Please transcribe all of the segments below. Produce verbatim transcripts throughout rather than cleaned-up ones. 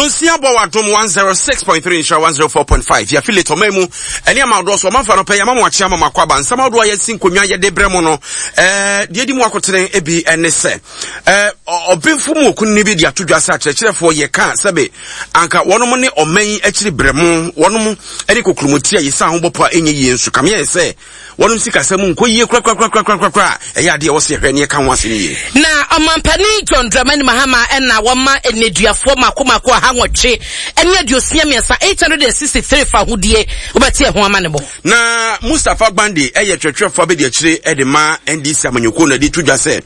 Nonsia bɔ wɔ Adom one zero six point three, Nhyira one zero four point five, yɛ affiliate ɔman mu ɛne ama ahodoɔ so. Ɔmanfa no pɛ yɛama mo akye, ama mo akɔ aba. Nsɛm ahodoɔ a yɛasi nkonnwa yɛde brɛ mo no, ɛɛ deɛ di mu akotene bi ɛne sɛ ɛɛ ɔbenfo mu okunini bi de ato dwa sɛ akyerɛkyerɛfoɔ yɛka sɛbe anka wɔnom ne ɔman yi akyiri brɛ mo, wɔnom ɛne kokuromoti a yɛsa ho bɔpɔ a ɛnyɛ yie, nso kameɛ sɛ wɔnom sikasɛm nkɔ yie korakorakorakorakora. Ɛyɛ adeɛ ɛwɔ sɛ yɛhwɛ ne yɛka ho asɛm yie. Na ɔmampanin John Dramani Mahama ɛna wɔma nneduafoɔ mako mako aha nwɔtwe ɛne aduosia mmiɛnsa, eight hundred and sixty-three, fa ahodie. Wobɛte ɛho ama ne bɔ. Na Mustapha Gbande ɛyɛ twerɛtwerɛfoɔ abɛdi akyire ɛde ma N D C amanyɔkuo no de to dwa sɛ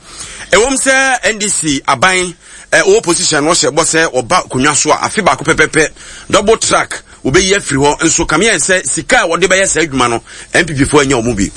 ɛwɔm sɛ N D C aban ɛwɔ position no, ɔhyɛ bɔ sɛ ɔba akonnwa so a, afe baako pɛpɛpɛ double track wɔbɛyi afiri hɔ, nso kameɛ sɛ sika a wɔde bɛyɛ saa adwuma no, N P P foɔ anya wɔn bi.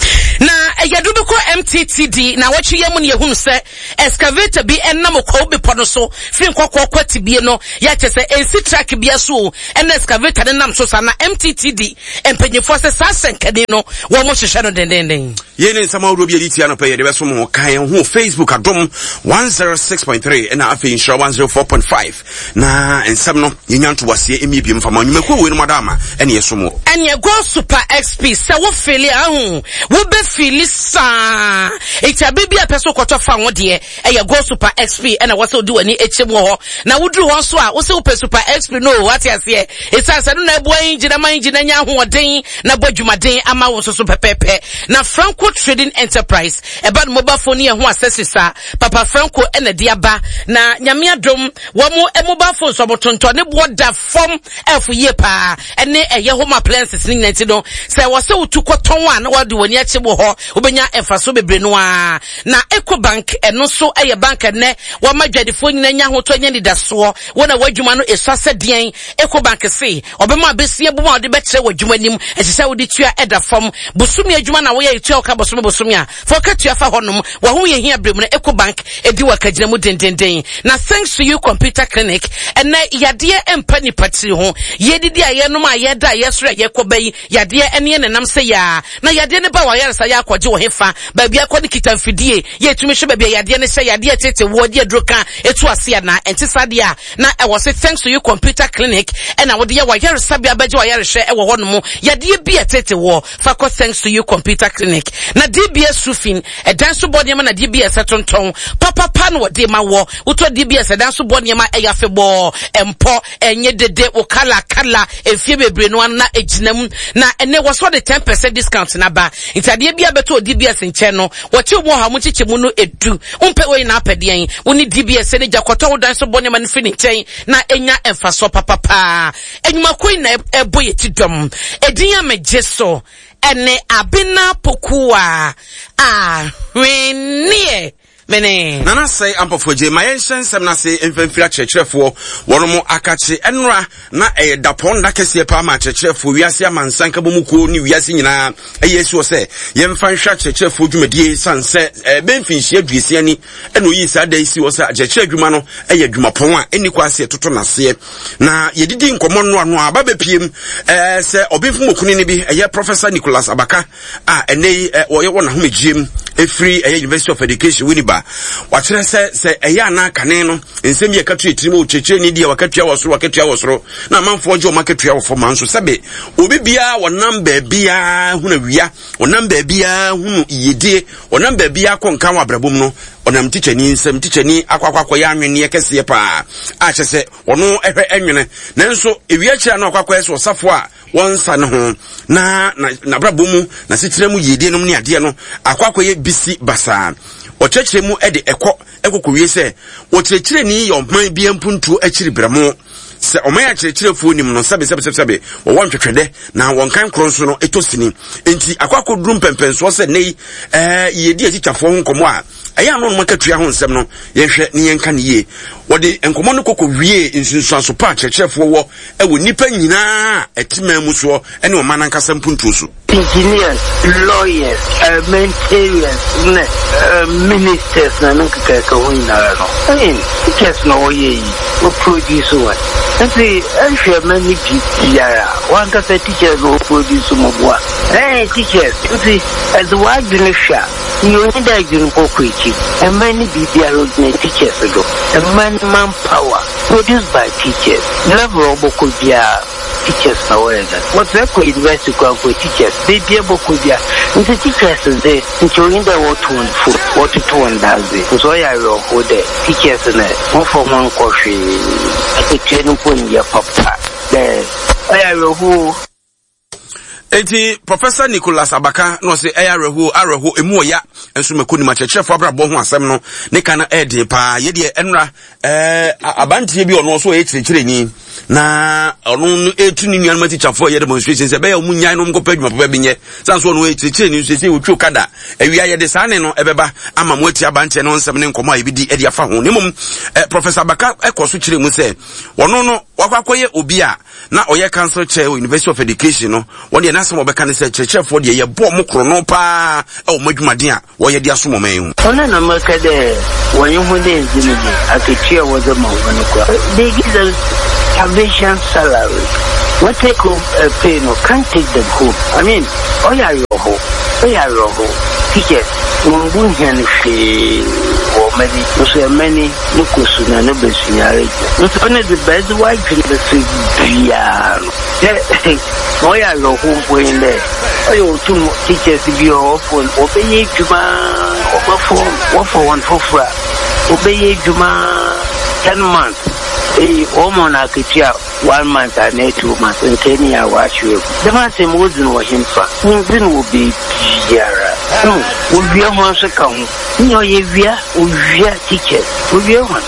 Na yɛde bɛkɔ M T T D na wɔtwe yɛ mu no, yɛhunu sɛ excavator bi ɛnam Kwawu bepɔ no so firi Nkɔkɔɔ kɔ Tibie no, yɛakyɛ sɛ ɛnsi track bia so o, ɛna excavator no nam so saa, na M T T D mpanyinfoɔ sɛ saa sɛnkani no wɔn mo hyehyɛ no dendenden. Yɛn ne nsɛm ahodoɔ bi a yɛde tia no pɛ yɛde bɛso mo. Ka yɛn ho Facebook Adom one zero six point three ɛna afei Nhyira one zero four point five, na nsɛm no yɛnya ntoboaseɛ ɛmie biom fama nnwumakuo wei no mu ada ama ɛne yɛso mo. Ɛneɛ Go Super X P sɛ wo fill a, ahu wobɛ fill saa nti abe bi a pɛ so kɔtɔ fa ho deɛ, ɛyɛ Go Super X P ɛna wɔ sɛ wode w'ani akyɛ mu wɔ hɔ. Na woduru hɔ nso a, wo sɛ wopɛ Super X P no, wate aseɛ, ɛsiane sɛ no na ɛboa engine ama engine anya ahoɔden na bɔ dwumaden ama wo nso so pɛpɛɛpɛ. Na Franco Trading Enterprise ɛba no mobile phone ne yɛn ho accessories a Papa Franco ɛna de aba, na Nyame adom wɔn mo mobile phones wɔn tontɔn ne boɔ da fam ɛfo yie paa, ɛne ɛyɛ home appliances ne nyinaa. Nti no sɛ wɔsɛ wotu kɔtɔn a, na wɔde wɔn ani akyi wɔ hɔ, wobɛnya mfaso bebree no ara. Na Eco Bank, ɛno nso ɛyɛ bank ɛnɛ wɔma adwadifoɔ nyinaa nya ahotɔ, nya nidasoɔ. Wɔn a wɔadwuma no esua sɛ deɛn, Eco Bank se ɔbɛma abesia bu mu a wɔde bɛkyerɛ wɔ adwuma nim ɛsɛ sɛ wode tua ɛda fam. Bosome adwuma na woyɛ, etua wɔka bosome bosome a fa ɔka tua fa hɔnom wɔn ho yɛ hia bere mu no, Eco Bank edi wɔ akagyina mu dendenden. Na Thanks to You Computer Clinic, ɛnɛ yadeɛ mpa nipa tiri ho, yɛdidi a, yɛnom a, yɛda a, yɛsoro a, yɛkɔ bɛyi yadeɛ ɛne yɛ nenam sɛ yaa na yadeɛ ne ba wɔ ayaresa yɛ akɔgye wɔ hefa baabi akɔ ne kita mfidie yɛtumi hwɛ baabi a yadeɛ ne hyɛ, yadeɛ tete wɔ de aduro ka etu ase ana ɛnte saa deɛ a, na ɛwɔ sɛ Thanks to You Computer Clinic ɛna wɔde yɛ wɔ ayaresabea bɛgye wɔ ayarehwɛ ɛwɔ hɔ nom. Yadeɛ bi a tete wɔ fa kɔ Thanks to You Computer Clinic. Na D B S Roofing, ɛdan so bɔ nneɛma na D B S tontɔn papapa na wɔde ma wɔ wotɔ D B S ɛdan so bɔ nneɛma, ɛyɛ afebɔɔ, ɛmpɔ, ɛnyɛ dede wo kala kala efie bebree no ano na egyina mu. Na ɛnɛ wɔsɔ de ten percent discount n'aba, nti adeɛ bi a bɛtɔ D B S nkyɛn no, wɔkye mu ɔha mu nkyekyɛ mu no edu. Wompɛ wei na apɛ deɛn? Wo ne D B S ne gya kɔtɔ wo dan so bɔ nneɛma no firi ne nkyɛn na enya mfasoɔ papapaa. Enyimako yi na ɛbɔ yɛ ti dɔm edin a megye so ɛne Abena Pokuwa Ahweneɛ mene. Nana Sɛe Ampɔfoagye. Ma yɛnhyɛ nsɛm no ase mfamfiri akyerɛkyerɛfoɔ wɔn mo akakye. Ɛnora na ɛyɛ dapɔn nda kɛseɛ paa ma akyerɛkyerɛfoɔ wiase amansan nkabɔ mu kuo ne wiase nyinaa ɛyɛ asi wɔ sɛ yɛmfa nhwɛ akyerɛkyerɛfoɔ dwumadie, sane sɛ ɛbɛn mfinhyia aduosia ni ɛna oyii saa da yi si wɔ sɛ akyerɛkyerɛ adwuma no ɛyɛ adwumapɔn a ɛnni kɔ ase ɛtoto n'aseɛ. Na yɛdidi nkɔmmɔ no ano a aba bɛpiem ɛɛ sɛ ɔbenfo mokuni no bi ɛyɛ Professor Nicholas Abaka a ɛnɛ yi wɔyɛ wɔ n'ahomegyie mu ɛfiri ɛyɛ University of Education Winneba, wakyerɛ sɛ sɛ ɛyɛ anaa kane no nsɛm bi a ɛka to yɛ tirim, ɔkyerɛkyerɛni deɛ wakatua wɔ soro, wakatua wɔ soro, na amanfoɔ gye wɔn akatua wɔ fam, nso sɛbe obi biara wɔnam baabiara hunu awia, ɔnam baabiara hunu yiyedie, ɔnam baabiara kɔ nka wɔ abrabɔ mu no, ɔnam tikyani nsɛm. Tikyani akɔ akɔ akɔyɛ anwenneɛ kɛseɛ paa a kyerɛ sɛ ɔno ɛhwɛ ɛnwene, nanso ewia kyerɛ no akɔ akɔyɛ sɛ ɔsafo a wɔnsa ne ho na n'abrabɔ mu n'asetena mu yiedie nom ne adeɛ no akɔ akɔyɛ bisi basaa. Ɔkyerɛkyerɛ mu de ɛkɔ ɛkɔkɔwie sɛ ɔkyerɛkyerɛni yɛ ɔman bi mpuntuo akyiri brɛmo sɛ ɔman akyerɛkyerɛfoɔ nim no sɛbe sɛbe sɛbe wɔwɔ ntwetwɛdɛ na wɔn kan korɔ nso no ɛtɔ sini, nti akɔ akɔduru mpɛmpɛnsoɔ sɛ nnɛ yi ɛɛ yɛdi atikyafoɔ ho nkɔmmɔ a ɛyɛ ano nom akatua ho nsɛm no, yɛhwɛ ne yɛnka ne yie. Wɔde nkɔmmɔ no kɔkɔ wie nsunsuanso pa akyerɛkyerɛfoɔ wɔ ɛwɔ nnipa nyinaa a ɛte man mu soɔ ɛne ɔman ankasa mpuntuo so. Engineers, lawyers, parliamentarians ne uh, ministers na ne nkekaka ho nyinara no, I mean, teachers na wɔyɛ yi, wɔ produce wɔn. Nti ɛhwɛ ma ne biribiara wankasa teachers na wɔ produce mo boa ɛɛ teachers. Nti ɛdze w'adwene hwɛ a, nea onyi dɛ adwene bɔkɔ akyi, ɛma ne biribiara ogyina teachers do, ɛma ne man power. Produced by teachers. Level a ɔbɔkɔ biara, teachers na wɔyɛ dɛn. Wɔdze kɔ university koraa mpo, teachers. Beebi a ɛbɔkɔ biara. Ntsi teachers dze, nkyɛ onnyi dɛ wɔto hɔn fo, wɔtoto hɔn dadze. Nso ɔyɛ awerɛhow dɛ teachers no, wɔmmfa hɔn nnkɔ hwee. Akatua no mpo nnyɛ papa. Dɛ ɔyɛ awerɛhow o. Enti Professor Nicholas Abaka na ɔse ɛyɛ awerɛhoɔ, awerɛhoɔ, emu ɔya nso mako nim akyerɛkyerɛfoɔ abrabɔ ho asɛm no ne ka no ɛɛden paa. Yɛ deɛ ɛnora ɛɛ abanteɛ bi ɔno nso ɔyɛ kyerɛkyerɛni na ɔno no ɛtu ne nuanom atikyafoɔ ɛyɛ demonstration sɛ ɛbɛyɛ ɔmo nyae no nkɔpɛ adwuma papa bi nyɛ san so ɔno ɔyɛ kyerɛkyerɛni nso ɛsɛ wɔtwi okada awia. Yɛde saa ne no ɛbɛba ama mo ati abanteɛ no nsɛm ne nkɔmmɔ a yɛbɛdi ɛde afa ho. Ne mmom eh, Professor Abaka ɛkɔ so kyerɛ mu sɛ ɔno no wakɔ akɔyɛ obi a na ɔyɛ council chair wɔ University of Education no, wɔn deɛ n'asɛm a wɔbɛka ne sɛ kyerɛkyerɛfoɔ deɛ yɛbɔ ɔmo korɔno paa ɛwɔ ɔmo adwumaden a wɔyɛ de asom ɔman yi ho. Ɔno na mɛka dɛ wɔnye hɔn enndzi no yie, akatua a wɔdze ma hɔn no koraa, they give them starvation salary. Wɔn take home uh, pay no can't take them home. I mean, ɔyɛ awerɛhow, ɔyɛ awerɛhow. Teachers, wɔmmbu hɛn hwee wɔ ɔman yi, nso ɛman yi no kɔ su na no bɛsunyare gyina. Nso ɔno dze bɛdze w'adwen bɛfa biara no. Dɛ ma ɔyɛ awerɛhow mpo nye dɛ ɔyɛ otum teachers bi wɔ hɔ wɔfo wɔbɛyɛ edwuma, wɔbɛfo wɔfa hɔn fofor a wɔbɛyɛ edwuma ten months eyi wɔma hɔn akatua one month anaa two months, nkae ne a wɔahyew egu. Dɛm asɛm wodzi no wɔ hemfa? Wonndzi no wɔ beebiara. No wowia hɔn so ka ho. Nyɛ ɔyɛ wia, owia teachers, owia hɔn.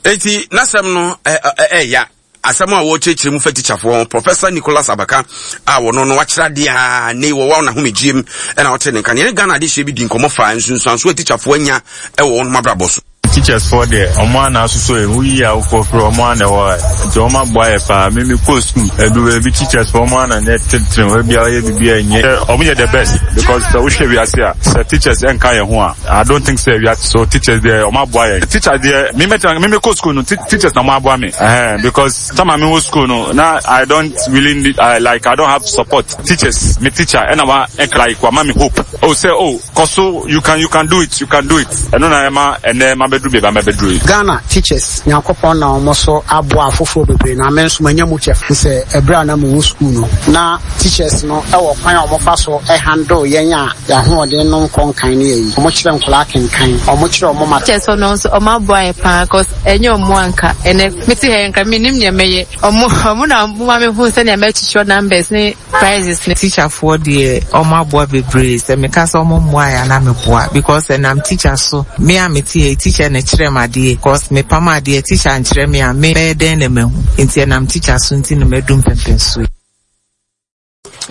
Enti n'asɛm no ɛɛya asɛm a wɔrekyerɛkyerɛ mu fa tikyafoɔ ho. Professor Nicholas Abaka a wɔno no wakyerɛ adeɛ a ne wɔwɔ n'ahomegyiem ɛna ɔte ne nka ne Ghana adehyɛ bi di nkɔmmɔ fa nsunsuanso a tikyafoɔ anya ɛwɔ wɔn abrabɔ so. Teachers foɔ deɛ, ɔmo ana asosɔ yɛ woyi awofoɔ firi ɔmo ana ɛwɔ ha, nti ɔmo aboa yɛ paa. Me me kɔ school ɛdu baabi, teachers foɔ ɔmo ana ne titiri ebi a ɔyɛ bibi a ɛnyɛ. Ɔmo yɛ the best because sɛ wohwɛ wiase a, sɛ teachers ɛnka yɛn ho a, I don't think sɛ wiase so. Teachers deɛ, ɔmo aboa yɛn. Teacher deɛ, me mɛtena me me kɔ school no, teachers na ɔmo aboa me ɛhɛn, because time a me wɔ school no na I don't really need, uh, like I don't have support. Teachers, me teacher ɛna wa like wa ma me hope oh sɛ oh kɔ so, you can you can do it, you can do it. Ɛno na ɛma ɛnɛ ma bɛduru baabi a ma bɛduru yi. Ghana teachers, Nyankopɔn na wɔn so aboa afoforɔ bebree na me nso manya mu kyɛfa sɛ ɛberɛ a na mewɔ school no na teachers no ɛwɔ kwan a wɔfa so handle yɛn a yɛahoɔden no nkɔ nkan ne yɛyi wɔn kyerɛ nkɔlaa kenkan, wɔn kyerɛ wɔn ma. Teachers no nso, ɔmo aboa yɛ paa 'cause ɛnyɛ ɔmo anka ɛnɛ mete ha yɛ nka menim nea mɛyɛ. Ɔmo ɔmo na ɔmo ma mehu sɛnea mɛkyekyɛ numbers ne prices ne. Teacherfoɔ deɛ, ɔmo aboa bebree. Sɛ meka sɛ ɔmo mmoa yɛ ana meboa, because ɛnam teacher so me a mete ha. Teacher na kyerɛ m adeɛ, because mepam adeɛ, teacher nkyerɛ me a, me bɛyɛ dɛn na mahu? Nti ɛnam teacher so nti na madu mpɛmpɛnso yi.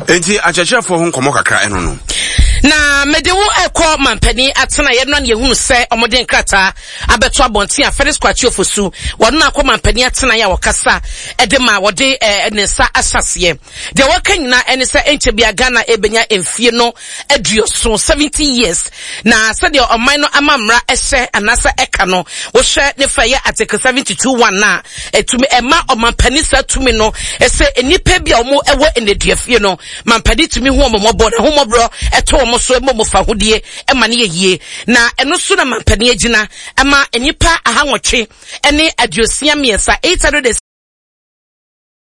Enti akyerɛkyerɛfoɔ ho nkɔmmɔ kakra ɛno no. Na mede wo ɛkɔ mampanin atena yɛn no, yɛhunu sɛ ɔmode nkrataa abɛto abɔnten a Felix Kwakye Ofosu wɔn no akɔ mampanin atena yɛ a wɔkasa ɛde ma wɔde ɛɛ ne nsa ahyɛ. Deɛ wɔka nyinaa ɛne sɛ ɛnkyɛ bia Ghana ɛbɛnya mfie no aduoson, seventy years, na sɛdeɛ ɔman no ama mmara ɛhyɛ anaasɛ ɛka no, wohwɛ ne fa yɛ Article seventy two one na ɛtumi ɛma ɔmampanin saa tumi no ɛsɛ nnipa bi a wɔn ɛwɔ nneduafie no, mampanin tumi hu wɔn mmɔbɔ na ahomɔborɔ ɛtɔ wɔn so ɛma wɔn fa ahodie ɛma no yɛ yie. Na ɛno so na mampanin agyina ɛma nnipa ahanwɔtwe ɛne aduosia mmiɛnsa, eight hundred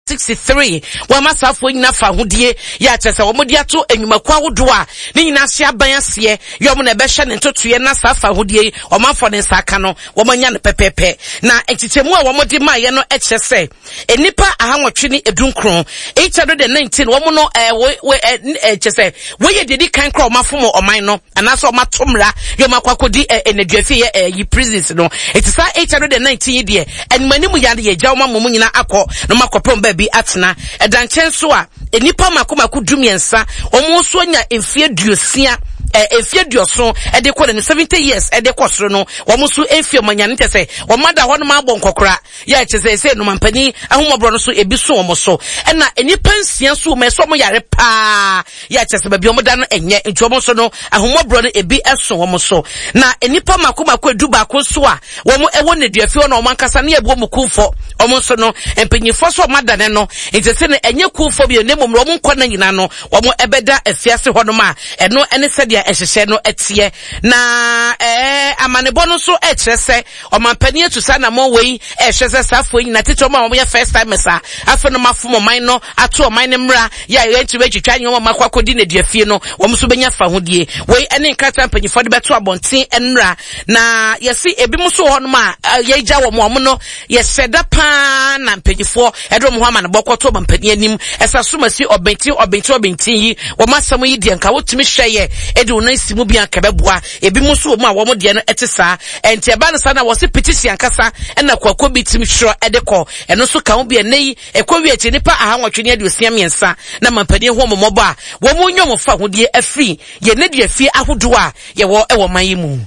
sixty three, wɔn asafoɔ nyinaa fa ahodie yɛ akyerɛ sɛ wɔn de ato nnwumakuo ahodoɔ a ne nyinaa ahyɛ aban aseɛ yɛ wɔn na ɛbɛhyɛ ne ntotoeɛ. Na saa fa ahodie yi wɔn afɔ ne nsa aka no, wɔn anya no pɛpɛɛpɛ. Na nkyekyɛmu a wɔn de maayɛ no kyerɛ sɛ nnipa ahanwɔtwe ne edunkron, eight hundred and nineteen, wɔn no ɛɛ wɔ wɔ ɛɛ kyerɛ sɛ wɔyɛ deɛ di kan koraa wɔn afom ɔman no anaasɛ wɔn ato mmara yɛ wɔn akɔ akɔdi ɛɛ nneduafie yɛ ɛɛ yi prisons no. Eti saa eight hundred and nineteen yi deɛ, anim anim yɛ yɛ gya wɔn ama wɔn nyinaa akɔ na wɔn akɔpɛ wɔn baabi atena. Ɛda nkyɛn so a, nnipa mako mako du mmiɛnsa, wɔn nso anya mfie duosia, ɛɛ mfie aduɔson ɛde kɔ n'anim, seventy years ɛde kɔ soro no, wɔn nso mfie wɔn anya ne kyɛ sɛ wɔn ada hɔ nom abɔ nkɔkora yɛ kyɛ sɛ ɛsɛ nomampanin ahomɔborɔ no so ebi so wɔn so. Ɛna nnipa nsia nso wɔn ɛsɛ wɔn yare paa yɛ kyɛ sɛ baabi wɔn da no ɛnyɛ, nti wɔn nso no ahomɔborɔ no ebi ɛso wɔn so. Na nnipa mako mako edu baako nso a wɔn ɛwɔ nneduafie hɔ na wɔn ankasa ne yɛ wɔn kumfɔ, wɔn nso no mpanyinfoɔ so wɔn adane no nti sɛ no ɛnyɛ kumfɔ bi ne mmom wɔn nkɔ na nyinaa no wɔn ɛbɛda afiase hɔnom a ɛno ɛne sɛdeɛ Nhyehyɛ no teɛ na ɛɛ amanebɔ no nso kyerɛ sɛ ɔmampanin atu saa anammɔn wei ɛhwɛ sɛ saa afoɔ nyinaa tete wɔn a wɔyɛ first timers a afei no mafom ɔman no ato ɔman no mmara yɛ a yɛntumi atwitwa nyɛ wɔn akɔ akɔdi nneduafie no, wɔn nso bɛnya fahodie. Wei ne nkrataa mpanyinfoɔ de bɛto abɔnten nnora. Na yɛsi ebinom nso wɔ hɔnom a yɛgya wɔn a wɔn no yɛhyɛ da paa na mpanyinfoɔ ɛde wɔn ho amanebɔ kɔto ɔmampanin anim ɛsɛ asomasi ɔbɛntin ɔbɛntin ɔbɛntin yi wɔn asɛm yi deɛ nka wotumi hwɛ yɛ ɛde wɔn nan si mu bi anka bɛboa. Ebinom nso wɔ mu a wɔn deɛ no ɛte saa. Ɛnti ɛba no saa na wɔsi petition ankasa ɛna kwako bi tumi twerɛ ɛde kɔ. Ɛno nso ka ho bi. Ɛnɛ yi ɛkɔ wie akyi nipa ahanwɔtwe ne aduosia mmiɛnsa na mampanin ho wɔn mmɔbɔ a wɔn nyɛ wɔn fa ahodie afiri yɛn nneduafie ahodoɔ a yɛwɔ ɛwɔ man yi mu.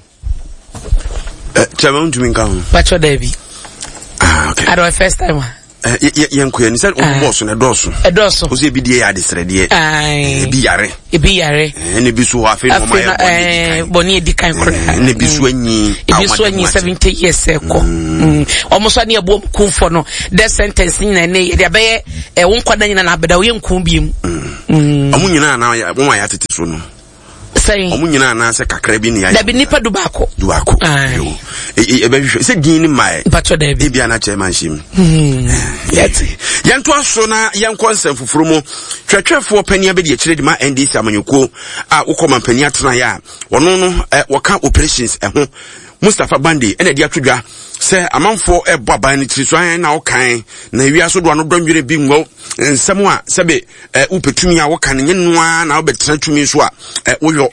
Kyɛmɛ ntumi nka ho. Bàtchɔ dɛbi. Ah, okay. Adɔ first time a. Yɛn kɔ yɛn sɛ ɔmo bɔɔso no ɛdɔɔso. Ɛdɔɔso. O sɛ ebi deɛ yɛ adesrɛdeɛ. Ebi yare. Ebi yare. Ɛna ebi so hɔ afei na ɔmo ayɛ bɔnne edi kan. Bɔnne edi kan koraa. Ɛna ebi so anyi. Ebi so anyi seventy years ɛkɔ. Ɔmo so ani ɛbɔ kunfɔ no death sentence nyinaa ne yɛde abɛyɛ ɛwo nkwadaa nyinaa na abɛda oyɛ nkun biem. Ɔmo nyinaa na wɔn a yɛatete so no. Sɛn? Ɔmo nyinaa anaasɛ kakra bi ne ayɛ. Dabi, nipa du baako. Du baako. Ɛbɛhwehwɛ sɛ din ne mmaɛ. Mpatwɔ dabi. Ebi anakyɛ ma nhyɛ mu. Yɛnto aso na yɛnkɔ nsɛm foforɔ mu. Twɛtwɛfoɔ panin abɛdi akyire de ma N D C amanyɔkuo a wokɔ mampanin atenaeɛ a ɔno no wɔka operations ɛho, Mustapha Gbande, ɛna ɛde ato dwa sɛ amanfoɔ ɛbɔ aban no tiri so ayɛn na ɔkan na ewia so do ano dɔnwere bi nwɔ nsɛm a sɛbe ɛ wopɛ tumi a woka no nyɛ noa na wobɛtena tumi so a ɛ woyɔ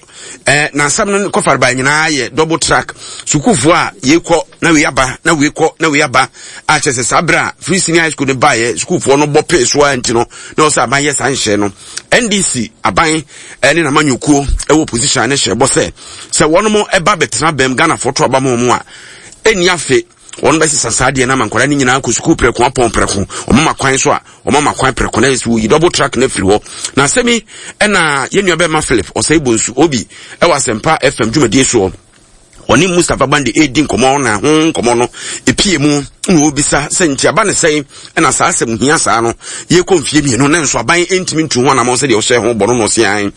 ɛ na nsɛm no kɔfareba nyinaa yɛ double track, sukuufoɔ a yɛkɔ na wei aba na wei kɔ na wei aba a kyerɛ sɛ saa berɛ a free senior high school no baeɛ, sukuufoɔ no bɔ pee so a nti no na ɔsɛ aban yɛ saa nhyɛ no. N D C aban ne n'amanyɔkuo ɛwɔ opposition ne hyɛ bɔ sɛ sɛ wɔn ɛba bɛtena bɛm, Ghanafoɔ to aba ma wɔn a, ɛnni afe wɔn bɛsesa saa deɛ no ama nkwadaa no nyinaa kɔ sukuu prɛko, apɔn prɛko, wɔn ma kwan so a wɔn ama kwan prɛko na yɛ sɛ wɔyi double track no afiri hɔ. Na asɛm yi ɛna yɛn nua bɛrima Philip Ɔsɛe Bonsu Obi ɛwɔ Asɛmpa F M dwumadie soɔ ɔne Mustapha Gbande edi nkɔmɔ, na ho nkɔmɔ no epie mu na obisa sɛ nti aba ne sɛn ɛna saa asɛm hia saa no yɛkɔ mfie mmienu na nso aban ntumi ntu ho anamɔ sɛdeɛ ɔhyɛ ho bɔ no na ɔsean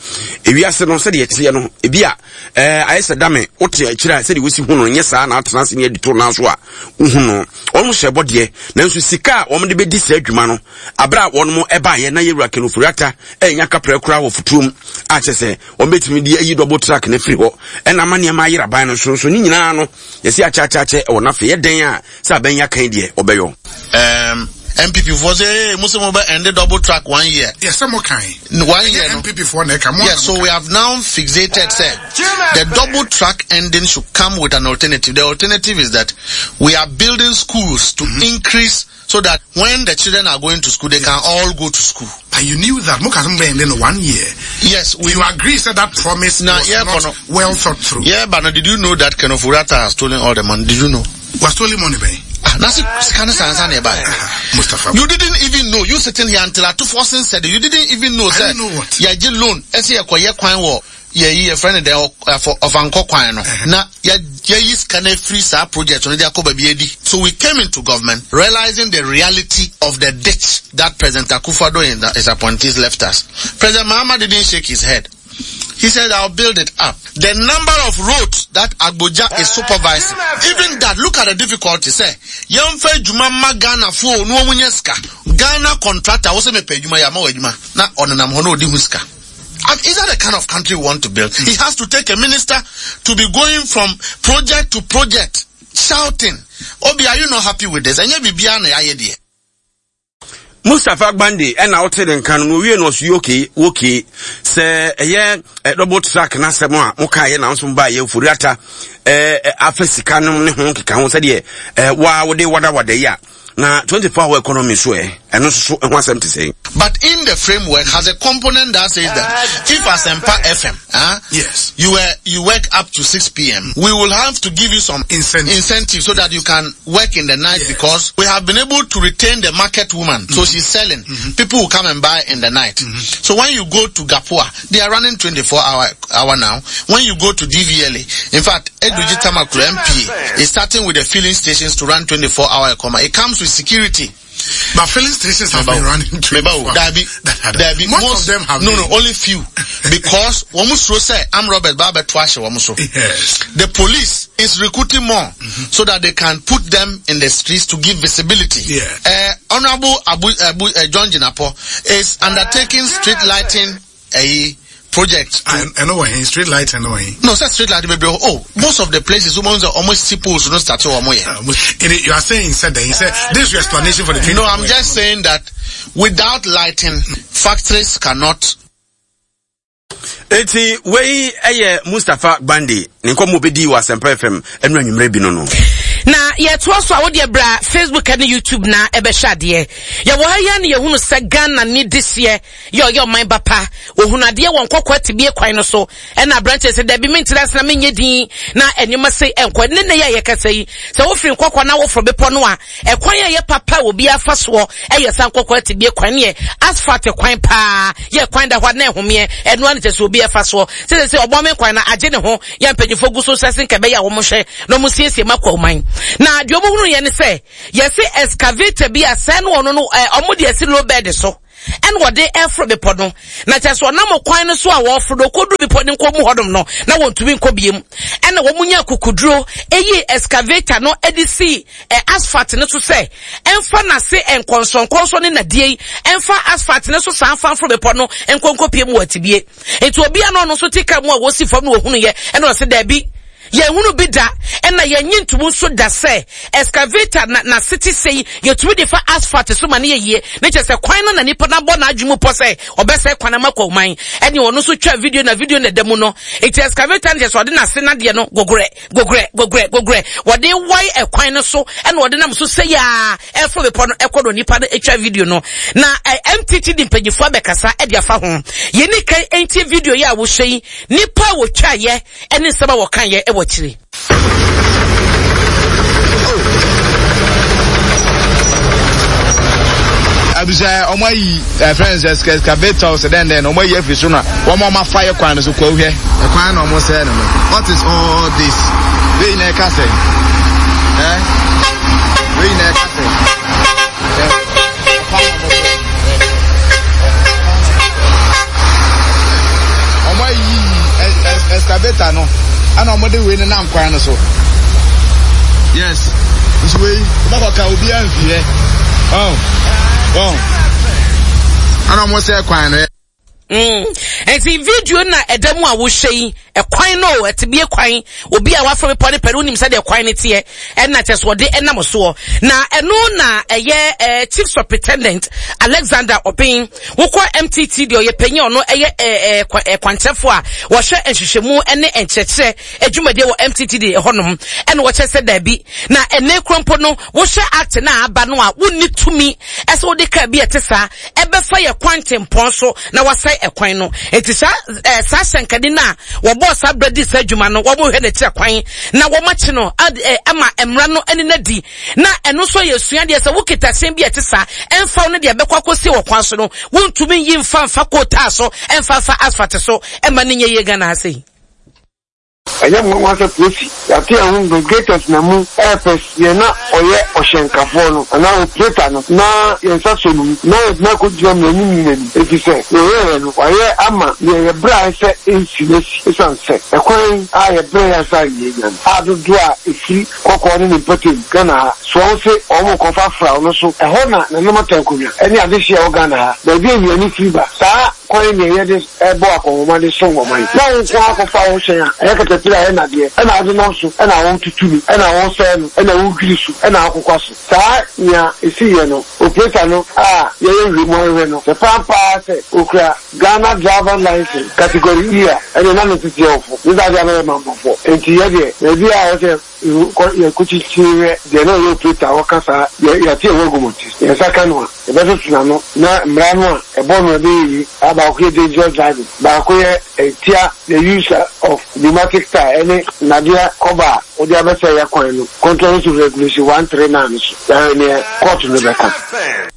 ewiase no sɛdeɛ ɛteɛ no ebi a ɛɛ ayɛ sɛ dame wote akyire a sɛdeɛ wosi hu no nyɛ saa na atena ase ne adi to nan so a wohu no. Wɔn hyɛ bɔ deɛ, nanso sika a wɔn de bɛdi saa adwuma no abere a wɔn ɛbaayɛ na yɛwura Ken Ofori-Atta ɛnya kaprɛ koraa wɔ futuom a kyerɛ sɛ wɔn bɛtumi de ayi double track no afiri hɔ ɛna ama nneɛma ayera aban no so nso ne nyinaa no yɛsi akyɛakyɛakyɛ ɛwɔ n'afɛ yɛ dɛn a sɛ aban yi akan deɛ ɔbɛyɔ. Um, N P P foɔ sɛ, hey, mo sɛ mo bɛ end double track one year. Yes, sɛ mo kan. One year no. N P P foɔ na ɛka mo. Yes, so we have now fixated sɛ the double track ending should come with an alternative. The alternative is that we are building schools to mm-hmm. increase so that when the children are going to school, they yes. can all go to school. But you knew that mo ka sɛ end in one year. Yes, we. You agree said that promise now, was yeah, not no, well thought through. Yeah, but now, did you know that Ken Ofori-Atta has stolen all the money? Did you know? Was stolen money, man? Ah, nasi sika ne sansa na ɛba. Mustapha. You didn't even know. You sitting here until Ato Forson said it. You didn't even know. I Sɛ, didn't know what. Yɛgye loan. Ɛsɛ yɛkɔyɛ kwan wɔ yɛyi yɛfrɛ no dɛ ɔfankɔ kwan no. Na yɛyi sika no afiri saa project no de akɔ baabi adi. So we came into government realizing the reality of the ditch that President Akufo-Addo and his appointees left us. President Mahama didn't shake his head. He said, "I'll build it up." The number of roads that Agbodza is supervising, even that, look at the difficulty. Sɛ, yɛmfa adwuma ma Ghana fo no wɔn nyɛ sika. Ghana contractor, wɔsɛ mepɛ adwuma yɛ ama wɔ adwuma. Na ɔnenam hɔ na ɔdi ho sika. And is that the kind of country we want to build? He has to take a minister to be going from project to project, shouting, "Obi, are you not happy with this?" Ɛnyɛ biribiara na yɛayɛ deɛ. Mustapha Gbande ɛna wote ne nka no na owie no ɔso yɛ okay okay sɛ ɛyɛ ɛ double track n'asɛm a mokaeɛ na nso baayɛ Ofori-Atta ɛɛ afa sika no ne ho nkeka ho sɛdeɛ ɛɛ waa wode wadawada yi a na twenty four hour economy so ɛ ɛno nso so ɛho asɛm te sɛ. But in the framework has a component that says that if Asempa F M, huh, Yes. you were, you work up to six p m, we will have to give you some incentive, incentive so that you can work in the night, Yes. because we have been able to retain the market woman. So she's selling. People will come and buy in the night. So when you go to Gapua, they are running twenty-four hour, hour now. When you go to D V L A, in fact, Edudzi Tamakloe M P is starting with the filling stations to run twenty-four hour economy. It comes with security. But filling stations have been running twenty-four. Dabi, Dabi, most, most of them have no, been. No, only few. Because wɔn suro sɛ armed robbers ba abɛto ahyɛ wɔn so. Yes. The police is recruiting more mm-hmm. so that they can put them in the streets to give visibility. Yeah. Uh, Honorable Abu, Abu uh, John Jinapo is undertaking street lighting a project. I, I know where he street lighting. No, he. No, sir, street lighting maybe. Oh, most of the places, almost see poles no start to You are saying said that he said this is your explanation for the. No, I'm just saying that without lighting, factories cannot. Eti wei eye Mustapha Gbande ne nkɔmmɔ bɛdi wɔ Asɛmpa F M ɛnu anwummerɛ bi no no. Na yɛtoa so a wode bra Facebook ne YouTube na ɛbɛhyɛ adeɛ. Yɛwɔ ha yi na yɛhunu sɛ Ghana ne dehyeɛ yɛ ɔyɛ ɔman bapa. Ohunu adeɛ wɔ nkɔkɔ atibie kwan no so. Ɛna aberanteɛ sɛ dabi mentena ase na menyɛ din na ɛnneɛma sei ɛnkɔ. Ne ne yɛ a yɛkasa yi sɛ wofiri nkɔkɔ na woforo bepɔ no a ɛkwan a yɛ papa obi afa soɔ ɛyɛ sa nkɔkɔ atibie kwan ne yɛ asphalt kwan paa yɛ kwan da hɔ na ɛhomeɛ ɛno ano kyɛ sɛ obi afa soɔ sɛ sɛ ɔbɔ me kwan na agye ne ho yɛ mpanyinfoɔ gu so sɛ sɛ nkɛbɛyɛ a wɔn hwɛ na wɔn siesie ma kɔ ɔman na deɛ wɔn hunu yɛ ne sɛ yɛsi excavator bi a sɛn no ɔno no ɛɛ ɔmo de esi low bed so ɛna wɔde ɛforo bepɔ no na kyɛ sɛ ɔnam kwan no so a wɔforo no kɔduru bepɔ no nkɔ mu hɔnom no na wɔntumi nkɔ biem ɛna wɔn nya kukuduro eyi excavator no ɛde si ɛ asphalt no so sɛ ɛnfa n'ase nkɔnsɔnkɔnsɔn ne nadeɛ yi ɛnfa asphalt no so saa nfa nforo bepɔ no nkɔnkɔ pie mu wɔ atibie nti obi a no ɔno nso te kaa mu a wɔsi fam no wɔhunu yɛ ɛna ɔsi dɛbi yɛhunu bi da ɛna yɛnyi ntomu nso da sɛ excavator na na city sei yɛtumi de fa asphalt so ma ne yɛ yie ne kyerɛ sɛ kwan no na nipa na bɔ n'adwene mu pɔ sɛ ɔbɛsɛ kwan ama kɔ ɔman ɛne ɔno nso twa video na video na ɛda mu no eti excavator no kyerɛ sɛ ɔde n'ase nadeɛ no gogorɛ gogorɛ gogorɛ gogorɛ wɔde wae ɛkwan no so ɛna ɔde nam so sɛ yaa ɛforo bepɔ no ɛkɔ no nipa no atwa video no na M T T di mpanyinfoɔ abɛkasa ɛde afa ho yɛni kan ɛntie video yi a wɔhyɛ yi nipa a wɔtwa yɛ ɛne nsɛm a wɔka yɛ ɛwɔ akyire. Abisa ọmọ ayi friends excavator sẹ den den ọmọ ayi afiri so na wɔn ọmọ afa yɛ kwan no so kɔ hwɛ ɛkwan na ɔmo sɛ no no what is all this wei na ɛka sɛ ɛ wei na ɛka sɛ ɛ ɛkwan na ɔmo sɛ ɔmo ayi excavator no ɛna ɔmo de wei ne nam kwan no so yes nso wei ɔmo akɔka obiara nfi hɛ ɔn ɔn ɛna ɔmo sɛ kwan no. Mm. Enti video na ɛda mu a wohwɛ yi ɛkwan no ɛtebie kwan obi a wafro bepɔ ne pɛ no wonim sɛdeɛ kwan no teɛ ɛna kyɛ so wɔde ɛnam soɔ na ɛno na ɛyɛ eh, Chief Superintendent Alexander Obeng wokɔ M T T deɛ ɔyɛ panyin ɔno ɛyɛ eh, eh, kwankyerɛfoɔ a wɔhwɛ nhwehwɛmu ne nkyerɛkyerɛ adwumadeɛ wɔ M T T D ɛhɔnom ɛna wɔkyerɛ sɛ daabi na ɛnɛ kuro mpo no wohwɛ act na aba no a wonni tumi ɛsɛ wode kaa bi ɛte saa ɛbɛfa yɛ kwantempɔn so na wasɛe ɛkwan no enti saa eh, saa hyɛnkani no a wɔbɔɔ saa berɛ di saa adwuma no wɔn hwɛ n'akyi kwan na wɔn akyi no ama mmara no ani na di na ɛno nso yɛ sua deɛ sɛ wokita hyɛn bi a ɛte saa ɛmfa wo no deɛ ɛbɛkɔ akɔsi wɔ kwan so no wontumi nyi mfa mfa kootaa so ɛmfa mfa asphalt so ɛma ne nyɛ yie Ghana ha sei. Ɛnyɛ nwanwa sɛ polisi yɛate yɛn ho investigators na mu ɛɛpɛs yɛn na ɔyɛ ɔhyɛnkafoɔ no anaa operator no na yɛn nsa sɔ no mu na yɛde no akɔgyina mmaranimni no anim efisɛ nea ɔyɛeɛ no wayɛ ama nea yɛbrɛae sɛ ɛnsi no asi esiane sɛ ɛkwan a yɛbrɛeɛ ansa na yɛanya no a dodoɔ a ɛfiri kɔkɔɔ ne ne mpɔtam Ghana ha soɔ se wɔn rekɔfa fra no so ɛhɔ na nananom atankonwa ne adehyeɛ a ɛwɔ Ghana ha baabi a nnuane firi ba saa kwan nea yɛde ɛbɔ akɔnhoma de som ɔman na wo nko akɔfa wo hyɛn a ɛyɛ katapila ɛyɛ nadeɛ ɛna wode nam so ɛna wotutu no ɛna wosɛe no ɛna wodwiri so ɛna wokokwa so saa nea ɛsiiɛ no operator no a yɛyɛ nhwɛmu ahwehwɛ no sɛ pampaa sɛ okura Ghana driver license category E a ɛne na ne tete ɔfo ne saa deɛ abɛyɛ mammɔfoɔ enti yɛdeɛ baabi a wɔsɛ yɛkɔkyikyiri deɛ na ɔyɛ operator wɔka saa yɛate ɛwɔ agumɔte yɛnsa ka no a yɛbɛtoto n'ano na mmara no a ɛbɔ no ɛbɛyɛ yi a baako yɛ dangerous driving baako yɛ ɛtia the use of pneumatic tire ɛne nnadeɛ kɔba a wode abɛsɛ yɛ kwan no contrary to regulation one three nine so yɛahwɛ neɛ court no bɛka.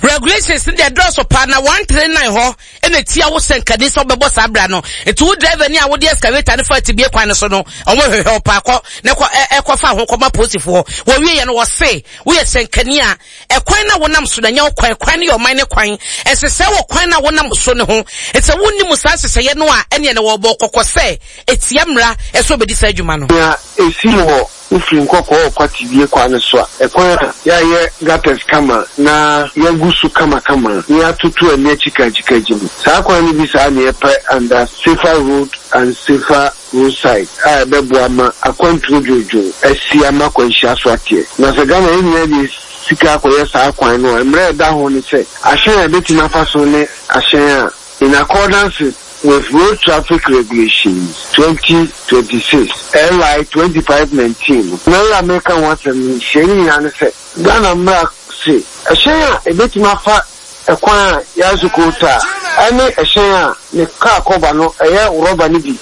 Regulations no deɛ dɔɔso paa na one three nine hɔ ɛna tia wo sɛ nkani sɛ wobɛbɔ saa bra no. Nti wo driver ni a wode excavator no fa atibie kwan no so no, ɔmo hwehwɛ wo paa kɔ na kɔ ɛkɔ fa ho kɔma polisifoɔ. Wɔwie yɛ no wɔse woyɛ sɛnkani a ɛkwan na wonam so na nyɛ wo kwan, kwan no yɛ ɔman ne kwan. Ɛnsesɛe wɔ kwan na wonam so ne ho. Nti sɛ wonni mu saa nhyehyɛeɛ no a ɛneɛ na wɔbɔ kɔkɔ sɛ etia mmara ɛsɛ obɛdi saa adwuma no. Nea esi wɔ wofiri Nkɔkɔɔ ɔkɔ Atibie kwan no so a, ɛkwan a yɛayɛ gutters kama na yɛagu so kamakama na yɛatoto ani akyikakyikakyi no, saa kwan no bi saa na yɛpɛ under Safer Road and Safer Roadside a ɛbɛboa ma akwantuo dwoodwoo asi ama akwanhyia so ateɛ. Na sɛ Ghana yɛn nyinaa de sika akɔyɛ saa kwan no a, mmerɛ a ɛda ho ne sɛ ahyɛn a ɛbɛtumi afa so ne ahyɛn a in accordance with Road Traffic Regulations twenty twenty six L I twenty five nineteen no. Na yɛ a meka ho asɛm no nhyiamu nyinaa ne sɛ Ghana mmara se ɛhyɛn a ɛbɛtumi afa ɛkwan a yɛaso coal tar ɛne ɛhyɛn a ne kaa kɔba no ɛyɛ rɔba no bi.